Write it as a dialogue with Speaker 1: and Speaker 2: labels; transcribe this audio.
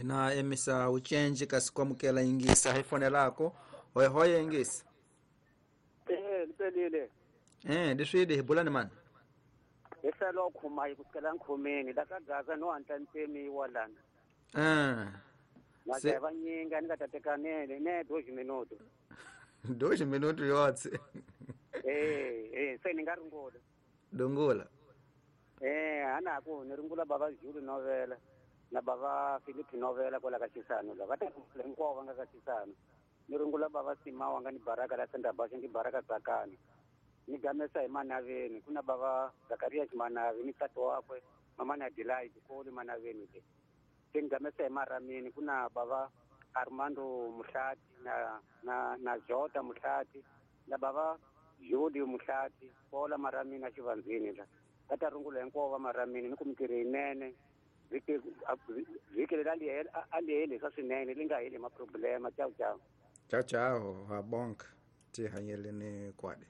Speaker 1: Hina emisa ucenji kasi kwamukela ingisa hi fonelako. Hoye hoye ingisa.
Speaker 2: Lipelile.
Speaker 1: Leswidi hi bula ni mani?
Speaker 2: Hi hlelo khuma ku sukela nkhomeni la ka Gaza no hatla ntsemiwa lana.
Speaker 1: Se
Speaker 2: vanyinga ni nga ta teka ne 2 minuto.
Speaker 1: 2 minuto yotse.
Speaker 2: Se ni nga ringula.
Speaker 1: Dungula.
Speaker 2: Ana ku ni ringula baba Julu novela na baba Philip novela kwala ka Xisano la va ta hinkwavo va nga ka Xisano. Ni ringula baba Simawa nga ni baraka la Senda Basha ni baraka Tsakani. Ni gamesa hi Manaveni kuna baba Zakaria Manavi ni tata wakwe mama na Delight koli Manaveni le. Ni gamesa hi Maramini kuna baba Armando Muhlati na Jota Muhlati na baba Jodi Muhlati kola Maramini a Xivandzini la. Va ta rungula hinkwavo va Maramini ni ku mintirho yinene vhiki leri a li heli swa swinene li nga heli maproblema. Ciao ciao.
Speaker 1: Ciao ciao, ha bonk ti hanyeleni kwade.